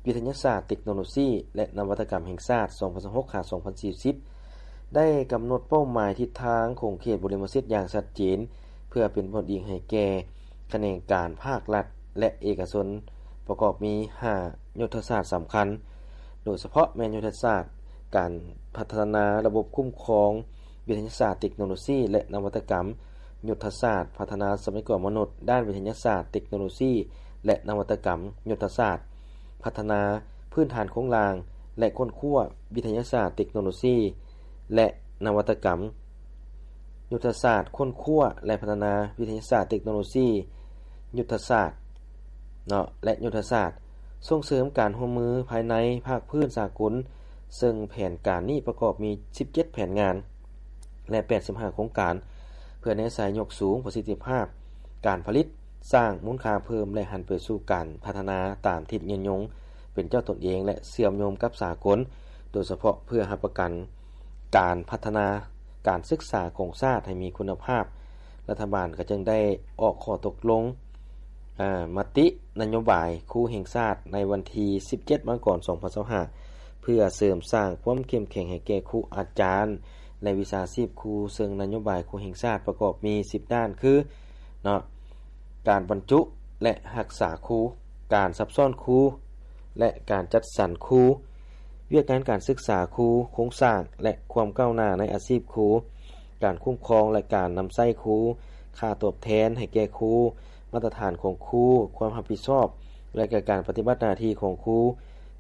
ວິທະຍາສາດ, ເຕັກໂນໂລຊີ ແລະ ນະວັດຕະກຳແຫ່ງຊາດ ສອງພັນຊາວຫົກ ຫາ ສອງພັນສີ່ສິບ ໄດ້ກຳນົດເປົ້າໝາຍທິດທາງຂົງເຂດບໍລິມະສິດຢ່າງຊັດເຈນ ເພື່ອເປັນບ່ອນອີງໃຫ້ແກ່ຂະແໜງການພາກລັດ ແລະ ເອກະຊົນ ປະກອບມີຫ້າຍຸດທະສາດສຳຄັນ, ໂດຍສະເພາະແມ່ນຍຸດທະສາດການພັດທະນາລະບົບຄຸ້ມຄອງວິທະຍາສາດ, ເຕັກໂນໂລຊີ ແລະ ນະວັດຕະກຳ, ຍຸດທະສາດພັດທະນາຊັບພະຍາກອນມະນຸດດ້ານວິທະຍາສາດ, ເຕັກໂນໂລຊີ ແລະ ນະວັດຕະກຳ, ຍຸດທະສາດພັດທະນາພື້ນຖານໂຄງລ່າງ ແລະ ຄົ້ນຄວ້າວິທະຍາສາດ, ເຕັກໂນໂລຊີ ແລະ ນະວັດຕະກຳ, ຍຸດທະສາດຄົ້ນຄວ້າ ແລະ ພັດທະນາວິທະຍາສາດ, ເຕັກໂນໂລຊີ, ຍຸດທະສາດ ເນາະ ແລະ ຍຸດທະສາດສົ່ງເສີມການຮ່ວມມືພາຍໃນ, ພາກພື້ນ, ສາກົນ, ເຊິ່ງແຜນການນີ້ປະກອບມີສິບເຈັດແຜນງານ ແລະ ແປດສິບຫ້າໂຄງການ ເພື່ອແນໃສ່ຍົກສູງປະສິດທິພາບການຜະລິດ, ສ້າງມູນຄ່າເພີ່ມ ແລະ ຫັນໄປສູ່ການພັດທະນາຕາມທິດຍືນຍົງເປັນເຈົ້າຕົນເອງ ແລະ ເຊື່ອມໂຍງກັບສາກົນ, ໂດຍສະເພາະເພື່ອຮັບປະກັນການພັດທະນາການສຶກສາຂອງຊາດໃຫ້ມີຄຸນນະພາບ. ລັດຖະບານກໍຈຶ່ງໄດ້ອອກຂໍ້ຕົກລົງ ອາ ມະຕິນະໂຍບາຍຄູແຫ່ງຊາດໃນວັນທີສິບເຈັດ ມັງກອນ ສອງພັນຊາວຫ້າ ເພື່ອເສີມສ້າງຄວາມເຂັ້ມແຂງໃຫ້ແກ່ຄູອາຈານ ແລະ ວິຊາຊີບຄູ, ເຊິ່ງນະໂຍບາຍຄູແຫ່ງຊາດປະກອບມີສິບດ້ານຄື ເນາະ ການບັນຈຸ ແລະ ຮັກສາຄູ, ການຊັບຊ້ອນຄູ ແລະ ການຈັດສັນຄູ, ວຽກງານການສຶກສາຄູ, ໂຄງສ້າງ ແລະ ຄວາມກ້າວໜ້າໃນອາຊີບຄູ, ການຄຸ້ມຄອງ ແລະ ການນຳໃຊ້ຄູ, ຄ່າຕອບແທນໃຫ້ແກ່ຄູ, ມາດຕະຖານຂອງຄູ, ຄວາມຮັບຜິດຊອບ ແລະ ກະການປະຕິບັດໜ້າທີ່ຂອງຄູ,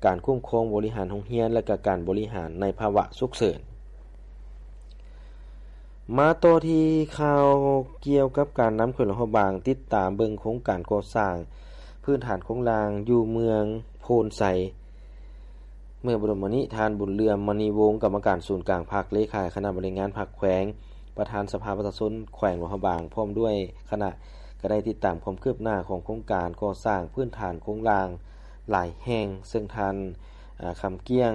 ການຄຸ້ມຄອງບໍລິຫານໂຮງຮຽນ ແລະ ກະການບໍລິຫານໃນພາວະສຸກເສີນ. ມາຕໍ່ທີ່ຂ່າວກ່ຽວກັບການນຳແຂວງຫຼວງພະບາງ ຕິດຕາມເບິ່ງໂຄງການກໍ່ສ້າງພື້ນຖານໂຄງລ່າງຢູ່ເມືອງໂພນໄຊ. ເມື່ອບໍ່ດົນມານີ້ ທ່ານ ບຸນເຫຼືອມ ມະນີວົງ ກຳມະການສູນກາງພັກ, ເລຂາຄະນະບໍລິຫານງານພັກແຂວງ, ປະທານສະພາປະຊາຊົນແຂວງຫຼວງພະບາງ ພ້ອມດ້ວຍຄະນະ ກໍໄດ້ຕິດຕາມຄວາມຄືບໜ້າຂອງໂຄງການກໍ່ສ້າງພື້ນຖານໂຄງລ່າງຫຼາຍແຫ່ງ, ເຊິ່ງທ່ານ ອາ ຄຳກ້ຽງ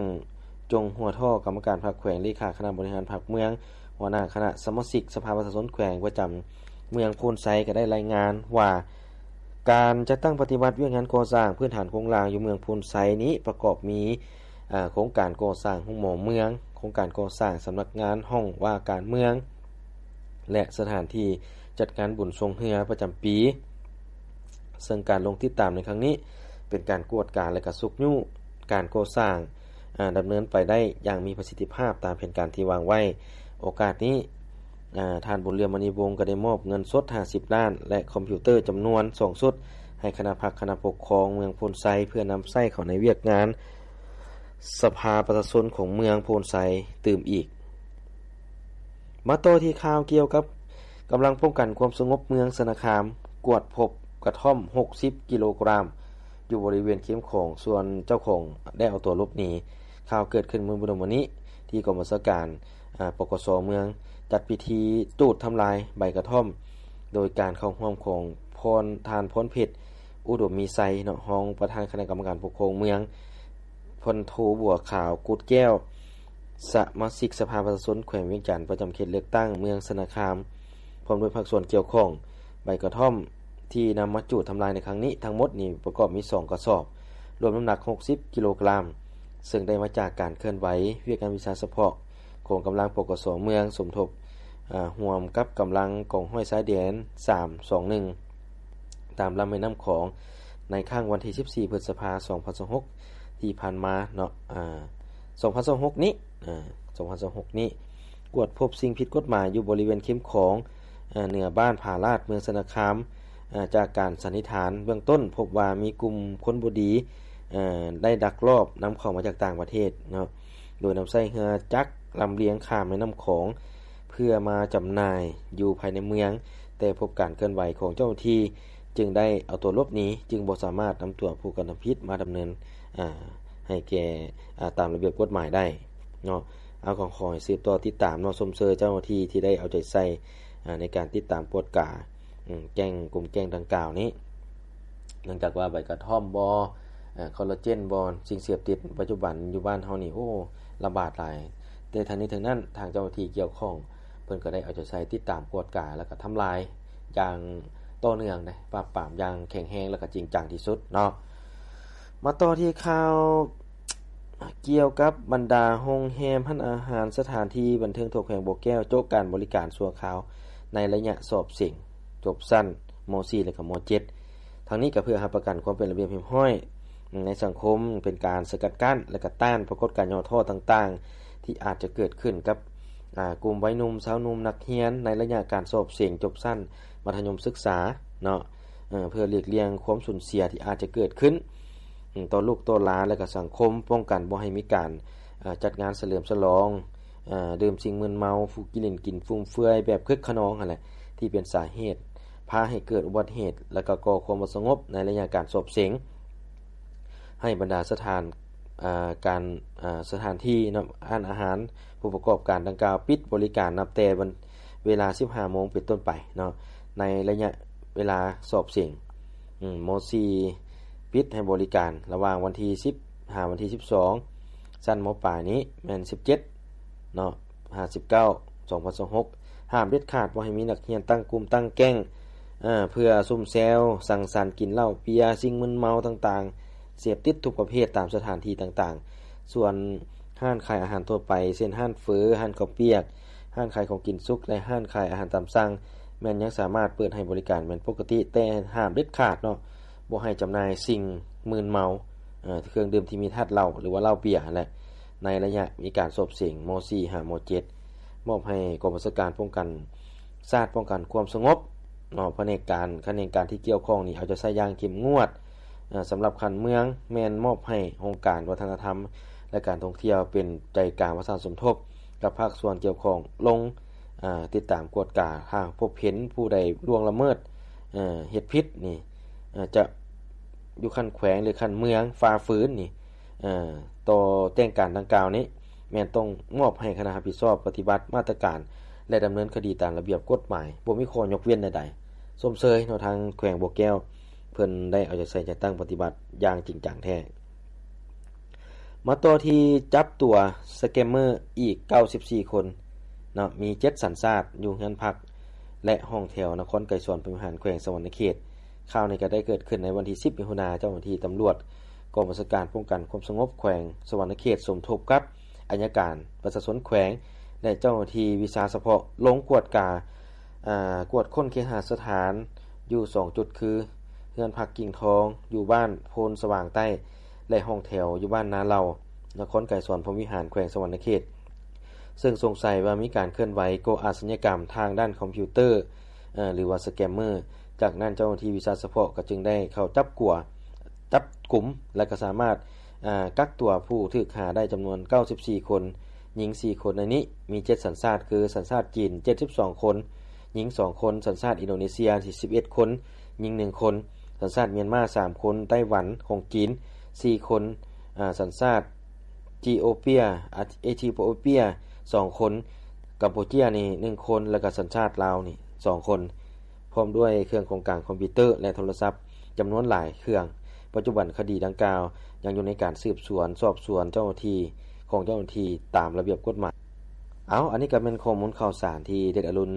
ຈົງຫົວທໍ້ ກຳມະການພັກແຂວງ, ເລຂາຄະນະບໍລິຫານພັກເມືອງ, ຫົວໜ້າຄະນະສະມາຊິກສະພາປະຊາຊົນແຂວງປະຈຳເມືອງໂພນໄຊ ກໍໄດ້ລາຍງານວ່າ ການຈັດຕັ້ງປະຕິບັດວຽກງານກໍ່ສ້າງພື້ນຖານໂຄງລ່າງຢູ່ເມືອງໂພນໄຊນີ້ ປະກອບມີ ອາ ໂຄງການກໍ່ສ້າງໂຮງໝໍເມືອງ, ໂຄງການກໍ່ສ້າງສຳນັກງານຫ້ອງວ່າການເມືອງ ແລະ ສະຖານທີ່ຈັດງານບຸນຊ່ວງເຮືອປະຈຳປີ, ເຊິ່ງການລົງຕິດຕາມໃນຄັ້ງນີ້ ເປັນການກວດກາ ແລະ ກະຊຸກຍູ້ການກໍ່ສ້າງ ອາ ດຳເນີນໄປໄດ້ຢ່າງມີປະສິດທິພາບຕາມແຜນການທີ່ວາງໄວ້. ໂອກາດນີ້ ອາ ທ່ານ ບຸນເຫຼືອມ ມະນີວົງ ກໍໄດ້ມອບເງິນສົດຫ້າສິບລ້ານ ແລະ ຄອມພິວເຕີຈຳນວນສອງຊຸດ ໃຫ້ຄະນະພັກຄະນະປົກຄອງເມືອງໂພນໄຊ ເພື່ອນຳໃຊ້ເຂົ້າໃນວຽກງານສະພາປະຊາຊົນຂອງເມືອງໂພນໄຊຕື່ມອີກ. ມາຕໍ່ທີ່ຂ່າວກ່ຽວກັບກຳລັງປ້ອງກັນຄວາມສະຫງົບເມືອງຊະນະຄາມ ກວດພົບກະທ່ອມຫົກສິບກິໂລກຣາມ ຢູ່ບໍລິເວນເຄມຂອງ ສ່ວນເຈົ້າຂອງໄດ້ເອົາຕົວຫຼົບໜີ. ຂ່າວເກີດຂຶ້ນມື້ບຸດມະນີ້ ທີ່ກອງບັນຊາການ ອາ ປກສ ເມືອງ ຈັດພິທີຈູດທຳລາຍໃບກະທ່ອມ ໂດຍການເຂົ້າຮ່ວມຂອງພອນ ທ່ານ ພອນເພັດ ອຸດົມມີໄຊ ເນາະ ຮອງປະທານຄະນະກຳມະການປົກຄອງເມືອງ, ພັນໂທ ບົວຂາວ ກຸດແກ້ວ ສະມາຊິກສະພາປະຊາຊົນແຂວງວຽງຈັນ ປະຈຳເຂດເລືອກຕັ້ງເມືອງຊະນະຄາມ ພ້ອມດ້ວຍພາກສ່ວນກ່ຽວຂ້ອງ. ໃບກະທ່ອມທີ່ນຳມາຈູດທຳລາຍໃນຄັ້ງນີ້ ທັງໝົດນີ້ປະກອບມີສອງກະສອບ ລວມນ້ຳໜັກຫົກສິບກິໂລກຣາມ ເຊິ່ງໄດ້ມາຈາກການເຄື່ອນໄຫວວຽກງານວິຊາສະເພາະຂອງກຳລັງ ປກສ ເມືອງ ສົມທົບ ອາ ຮ່ວມກັບກຳລັງກອງຮ້ອຍຊາຍແດນ ສາມສອງໜຶ່ງ ຕາມລຳແມ່ນ້ຳຂອງ ໃນຄ້າງວັນທີສິບສີ່ ພຶດສະພາ ສອງພັນຊາວຫົກ ທີ່ຜ່ານມາເນາະ ອາ ສອງພັນຊາວຫົກນີ້ ອາ ສອງພັນຊາວຫົກນີ້ ກວດພົບສິ່ງຜິດກົດໝາຍຢູ່ບໍລິເວນເຄັມຂອງ ເອີ ເໜືອບ້ານຜາລາດ ເມືອງຊະນະຄາມ. ເອີ ຈາກການສັນນິຖານເບື້ອງຕົ້ນ ພົບວ່າມີກຸ່ມຄົນບໍ່ດີ ເອີ ໄດ້ລັກລອບນຳເຂົ້າມາຈາກຕ່າງປະເທດເນາະ ໂດຍນຳໃຊ້ເຮືອຈັກລຳລຽງຂ້າມແມ່ນ້ຳຂອງ ເພື່ອມາຈຳໜ່າຍຢູ່ພາຍໃນເມືອງ, ແຕ່ພົບການເຄື່ອນໄຫວຂອງເຈົ້າໜ້າທີ່ ຈຶ່ງໄດ້ເອົາຕົວຫຼົບໜີ, ຈຶ່ງບໍ່ສາມາດນຳຕົວຜູ້ກະທຳຜິດມາດຳເນີນ ອາ ໃຫ້ແກ່ ອາ ຕາມລະບຽບກົດໝາຍໄດ້ເນາະ. ເອົາ ກໍຂໍໃຫ້ສືບຕໍ່ຕິດຕາມເນາະ, ຊົມເຊີຍເຈົ້າໜ້າທີ່ທີ່ໄດ້ເອົາໃຈໃສ່ ອາ ໃນການຕິດຕາມກວດກາ ອາ ແກ້ງ ກຸ່ມແກ້ງດັ່ງກ່າວນີ້. ເນື່ອງຈາກວ່າໃບກະທ່ອມບໍ ອາ ຄໍລາເຈນບໍ ສິ່ງເສບຕິດປັດຈຸບັນຢູ່ບ້ານເຮົານີ້ ໂອ້ ລະບາດຫຼາຍ, ແຕ່ທັງນີ້ທັງນັ້ນ ທາງເຈົ້າໜ້າທີ່ກ່ຽວຂ້ອງ ເພິ່ນກໍໄດ້ເອົາໃຈໃສ່ຕິດຕາມກວດກາ ແລ້ວກໍທຳລາຍຢ່າງຕໍ່ເນື່ອງເດ້, ປາບປາມຢ່າງແຂງແຮງ ແລ້ວກໍຈິງຈັງທີ່ສຸດເນາະ. ມາຕໍ່ທີ່ຂ່າວກ່ຽວກັບບັນດາໂຮງແຮມ, ຮ້ານອາຫານ, ສະຖານທີ່ບັນເທີງທົ່ວແຂວງບໍ່ແກ້ວ ໂຈະການບໍລິການຊົ່ວຄາວໃນໄລຍະສອບເສັງຈົບຊັ້ນ ມໍສີ່ ແລະ ກໍ ມໍເຈັດ. ທັງນີ້ກໍເພື່ອຮັບປະກັນຄວາມເປັນລະບຽບຮຽບຮ້ອຍໃນສັງຄົມ, ເປັນການສະກັດກັ້ນ ແລະ ກໍຕ້ານປາກົດການຫຍໍ້ທໍ້ຕ່າງໆ ທີ່ອາດຈະເກີດຂຶ້ນກັບ ອາ ກຸ່ມໄວໜຸ່ມ, ຊາວໜຸ່ມ, ນັກຮຽນ ໃນໄລຍະການສອບເສັງຈົບຊັ້ນມັດທະຍົມສຶກສາເນາະ, ເພື່ອຫຼີກລ່ຽງຄວາມສູນເສຍທີ່ອາດຈະເກີດຂຶ້ນ ອາ ຕໍ່ລູກຕໍ່ຫຼານ ແລະ ກໍສັງຄົມ, ປ້ອງກັນບໍ່ໃຫ້ມີການ ອາ ຈັດງານສະເຫຼີມສະຫຼອງ, ອາ ດື່ມສິ່ງມຶນເມົາ, ຟູກິນຫຼິ້ນກິນຟຸ່ມເຟືອຍແບບຄຶກຂະນອງຫັ້ນແຫຼະ ທີ່ເປັນສາເຫດພາໃຫ້ເກີດອຸບັດເຫດ ແລະ ກໍກໍ່ຄວາມບໍ່ສະຫງົບໃນໄລຍະການສອບເສັງ. ໃຫ້ບັນດາສະຖານ ອາ ການ ອາ ສະຖານທີ່ເນາະ, ຮ້ານອາຫານ, ຜູ້ປະກອບການດັ່ງກ່າວປິດບໍລິການນັບແຕ່ວັນ ເວລາ ສິບຫ້າໂມງເປັນຕົ້ນໄປເນາະ, ໃນໄລຍະເວລາສອບເສັງ ອາ ມໍສີ່ ປິດໃຫ້ບໍລິການລະຫວ່າງວັນທີ ສິບ ຫາວັນທີ ສິບສອງ, ຊັ້ນ ມ.ປາຍ ນີ້ແມ່ນ ສິບເຈັດ ເນາະ ຫາ ສິບເກົ້າ ສອງພັນຊາວຫົກ. ຫ້າມເດັດຂາດບໍ່ໃຫ້ມີນັກຮຽນຕັ້ງກຸ່ມຕັ້ງແກ້ງ ເພື່ອຊຸມແຊວສັງສັນ, ກິນເຫຼົ້າເບຍ, ສິ່ງມຶນເມົາຕ່າງໆ, ເສບຕິດທຸກປະເພດຕາມສະຖານທີ່ຕ່າງໆ. ສ່ວນຮ້ານຂາຍອາຫານທົ່ວໄປ ເຊັ່ນ ຮ້ານເຝີ, ຮ້ານເຂົ້າປຽກ, ຮ້ານຂາຍຂອງກິນສຸກ ແລະ ຮ້ານຂາຍອາຫານຕາມສັ່ງ ແມ່ນຍັງສາມາດເປີດໃຫ້ບໍລິການແມ່ນປົກກະຕິ, ແຕ່ຫ້າມເດັດຂາດເນາະ ບໍ່ໃຫ້ຈຳໜ່າຍສິ່ງມຶນເມົາ, ເອີ ເຄື່ອງດື່ມທີ່ມີທາດເຫຼົ້າ ຫຼືວ່າເຫຼົ້າເບຍຫັ້ນແຫຼະ ໃນໄລຍະມີການສອບເສັງ ມໍສີ່ ຫາ ມໍເຈັດ. ມອບໃຫ້ກອງບັນຊາການປ້ອງກັນຊາດ ປ້ອງກັນຄວາມສະຫງົບເນາະ, ພະແນກການ ຂະແໜງການທີ່ກ່ຽວຂ້ອງນີ້ ເອົາໃຈໃສ່ຢ່າງເຂັ້ມງວດ. ເອີ ສຳລັບຂັ້ນເມືອງ ແມ່ນມອບໃຫ້ຫ້ອງການວັດທະນະທຳ ແລະ ການທ່ອງທ່ຽວ ເປັນໃຈກາງປະສານສົມທົບກັບພາກສ່ວນກ່ຽວຂ້ອງ ລົງ ອາ ຕິດຕາມກວດກາ. ຫາກພົບເຫັນຜູ້ໃດລ່ວງລະເມີດ ເອີ ເຮັດຜິດນີ້ ເອີ ຈະຢູ່ຂັ້ນແຂວງ ຫຼື ຂັ້ນເມືອງ ຝ່າຝືນນີ້ ເອີ ຕໍ່ແຈ້ງການດັ່ງກ່າວນີ້ ແມ່ນຕ້ອງມອບໃຫ້ຄະນະຮັບຜິດຊອບປະຕິບັດມາດຕະການ ແລະ ດຳເນີນຄະດີຕາມລະບຽບກົດໝາຍ, ບໍ່ມີຂໍ້ຍົກເວັ້ນໃດໆ. ຊົມເຊີຍເນາະ, ທາງແຂວງບໍ່ແກ້ວ ເພິ່ນໄດ້ເອົາໃຈໃສ່ຈັດຕັ້ງປະຕິບັດຢ່າງຈິງຈັງແທ້. ມາຕໍ່ທີ່ຈັບຕົວສະແກມເມີອີກເກົ້າສິບສີ່ຄົນເນາະ, ມີເຈັດສັນຊາດ ຢູ່ເຮືອນພັກ ແລະ ຫ້ອງແຖວ ນະຄອນໄກສອນ ພົມວິຫານ ແຂວງສະຫວັນນະເຂດ. ຂ່າວນີ້ກໍໄດ້ເກີດຂຶ້ນໃນວັນທີ ສິບ ມິຖຸນາ, ເຈົ້າໜ້າທີ່ຕຳຫຼວດກອງບັນຊາການປ້ອງກັນຄວາມສະຫງົບແຂວງສະຫວັນນະເຂດ ສົມທົບກັບອັຍການປະຊາຊົນແຂວງ ແລະ ເຈົ້າໜ້າທີ່ວິຊາສະເພາະ ລົງກວດກາ ອາ ກວດຄົ້ນເຄຫະສະຖານຢູ່ສອງຈຸດ ຄື ເຮືອນພັກກິ່ງທອງ ຢູ່ບ້ານໂພນສະຫວ່າງໃຕ້ ແລະ ຫ້ອງແຖວຢູ່ບ້ານນາເຫຼົ່າ ນະຄອນໄກສອນ ພົມວິຫານ ແຂວງສະຫວັນນະເຂດ, ເຊິ່ງສົງໄສວ່າມີການເຄື່ອນໄຫວກໍ່ອາຊະຍາກຳທາງດ້ານຄອມພິວເຕີ ເອີ ຫຼືວ່າສະແກມເມີ. ຈາກນັ້ນເຈົ້າໜ້າທີ່ວິຊາສະເພາະກໍຈຶ່ງໄດ້ເຂົ້າຈັບກົວ ຈັບກຸມ ແລະ ກໍສາມາດ ອາ ກັກຕົວຜູ້ຖືກຫາໄດ້ຈຳນວນເກົ້າສິບສີ່ຄົນ, ຍິງສີ່ຄົນ. ໃນນີ້ມີເຈັດສັນຊາດ ຄື ສັນຊາດຈີນ ເຈັດສິບສອງຄົນ, ຍິງສອງຄົນ, ສັນຊາດອິນໂດເນເຊຍ ສິບເອັດຄົນ, ຍິງໜຶ່ງຄົນ, ສັນຊາດມຽນມາສາມຄົນ, ໄຕ້ຫວັນຂອງຈີນສີ່ຄົນ, ອາ ສັນຊາດ ຈີໂອເປຍ ອາ ເອທິໂອເປຍສອງຄົນ, ກຳປູເຈຍນີ້ໜຶ່ງຄົນ ແລ້ວກໍສັນຊາດລາວນີ້ສອງຄົນ, ພ້ອມດ້ວຍເຄື່ອງຂອງກາງຄອມພິວເຕີ ແລະ ໂທລະສັບຈຳນວນຫຼາຍເຄື່ອງ. ປັດຈຸບັນຄະດີດັ່ງກ່າວຍັງຢູ່ໃນການສືບສວນສອບສວນເຈົ້າໜ້າທີ່ ຂອງເຈົ້າໜ້າທີ່ຕາມລະບຽບກົດໝາຍ. ເອົາ ອັນນີ້ກໍແມ່ນຂໍ້ມູນຂ່າວສານທີ່ເດັດອະລຸນ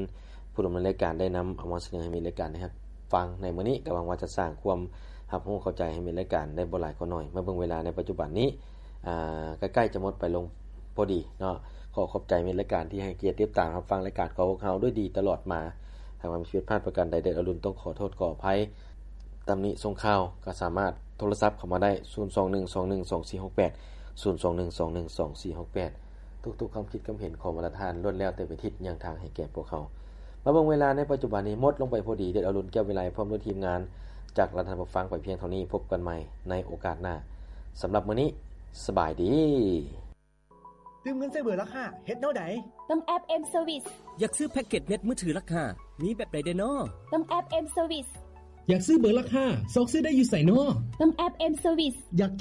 ຜູ້ດຳເນີນລາຍການໄດ້ນຳເອົາມາສະເໜີໃຫ້ມິດລາຍການໄດ້ຮັບຟັງໃນມື້ນີ້, ກໍຫວັງວ່າຈະສ້າງຄວາມຮັບຮູ້ເຂົ້າໃຈໃຫ້ມິດລາຍການໄດ້ບໍ່ຫຼາຍກໍໜ້ອຍ. ມາເບິ່ງເວລາໃນປັດຈຸບັນນີ້ ອາ ໃກ້ໆຈະໝົດໄປລົງພໍດີເນາະ. ຂໍຂອບໃຈມິດລາຍການທີ່ໃຫ້ກຽດຕິດຕາມຮັບຟັງລາຍການຂອງພວກເຮົາດ້ວຍດີຕະຫຼອດມາ. ຫາກວ່າມີຜິດພາດປະການໃດ ເດັດອະລຸນຕ້ອງຂໍໂທດຂໍອະໄພ. ຕຳໜິສົ່ງຂ່າວກໍສາມາດໂທລະສັບເຂົ້າມາໄດ້ ສູນສອງໜຶ່ງສອງໜຶ່ງສອງສີ່ຫົກແປດ. ສູນສອງໜຶ່ງສອງໜຶ່ງສອງສີ່ຫົກແປດ. ທຸກໆຄຳຄິດຄຳເຫັນຂອງບັນດາທ່ານ ລ້ວນແລ້ວແຕ່ເປັນທິດຍ່າງທາງໃຫ້ແກ່ພວກເຮົາ. ມາເບິ່ງເວລາໃນປັດຈຸບັນນີ້ ໝົດລົງໄປພໍດີ. ເດດອາລຸນ ແກ້ວວິໄລ ພ້ອມດ້ວຍທີມງານ ຈາກລານທ່ານຜູ້ຟັງໄປພຽງເທົ່ານີ້. ພົບກັນໃໝ່ໃນໂອກາດໜ້າ. ສຳລັບມື້ນີ້ ສະບາຍດີ. ຕື່ມເງິນໃສ່ເບີລັກຫ້າ ເຮັດແນວໃດ? ເບິ່ງແອັບ M Service. ຢາກຊື້ແພັກເກັດເນັດມືຖືລັກຫ້າ ມີແບບໃດແດ່ນໍ? ເບິ່ງແອັບ M Service. ຢາກຊື້ເບີລັກຫ້າ ຊອກຊື້ໄດ້ຢູ່ໃສນໍ? ເບິ່ງແອັບ M Service. ຢາກໃຈ